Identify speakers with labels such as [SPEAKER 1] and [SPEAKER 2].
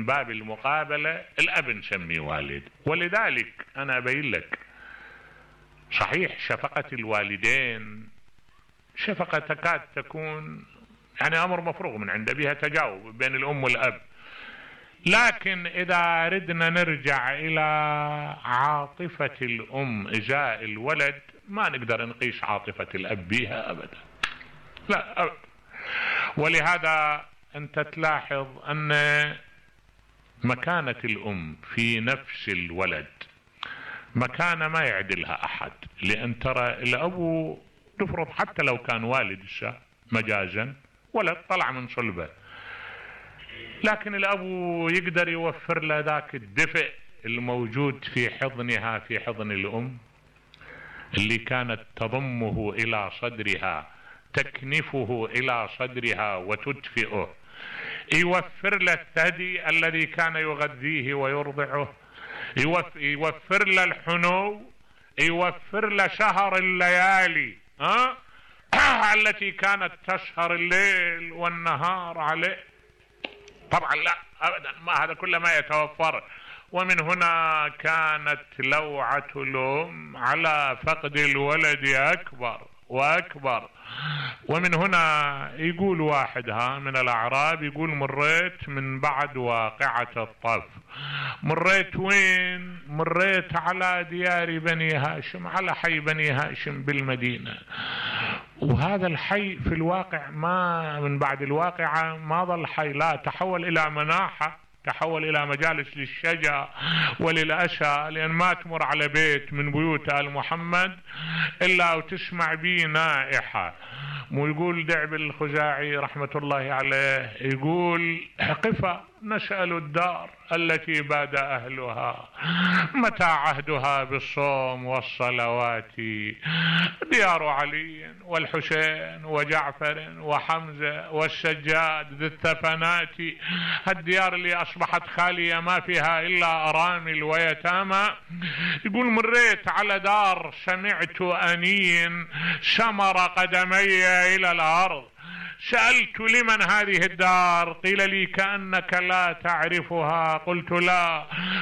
[SPEAKER 1] باب المقابلة الأب نسميه والد. ولذلك أنا أبين لك صحيح شفقة الوالدين شفقة تكاد تكون يعني أمر مفروغ من عنده، بها تجاوب بين الأم والأب، لكن إذا أردنا نرجع إلى عاطفة الأم إزاء الولد ما نقدر نقيس عاطفة الأب بها أبدا، لا أبدا. ولهذا أنت تلاحظ أن مكانة الأم في نفس الولد مكانة ما يعدلها أحد، لأن ترى الأب تفرض حتى لو كان والد مجازا ولد طلع من صلبه، لكن الأب يقدر يوفر له ذاك الدفء الموجود في حضنها، في حضن الأم اللي كانت تضمه إلى صدرها، تكنفه إلى صدرها وتدفئه، يوفر له الثدي الذي كان يغذيه ويرضعه، يوفر له الحنو، يوفر له شهر الليالي التي كانت تسهر الليل والنهار عليه. طبعا لا أبدا، ما هذا كله ما يتوفر. ومن هنا كانت لوعة الأم على فقد الولد أكبر وأكبر. ومن هنا يقول واحد من الأعراب يقول مريت من بعد واقعة الطف. مريت وين؟ مريت على ديار بني هاشم، على حي بني هاشم بالمدينة، وهذا الحي في الواقع ما من بعد الواقعة ما ظل حي، لا تحول إلى مناحة، تحول إلى مجالس للشجع وللأسى، لأن ما تمر على بيت من بيوت آل محمد إلا وتسمع به نائحة. ويقول دعب الخزاعي رحمة الله عليه يقول قفا نسأل الدار التي باد أهلها متى عهدها بالصوم والصلوات، ديار علي والحسين وجعفر وحمزة والسجاد ذي الثفنات، الديار اللي أصبحت خالية ما فيها إلا أرامل ويتامى. يقول مريت على دار سمعت أنين شمر قدمي إلى الأرض، سألت لمن هذه الدار؟ قيل لي كأنك لا تعرفها، قلت لا،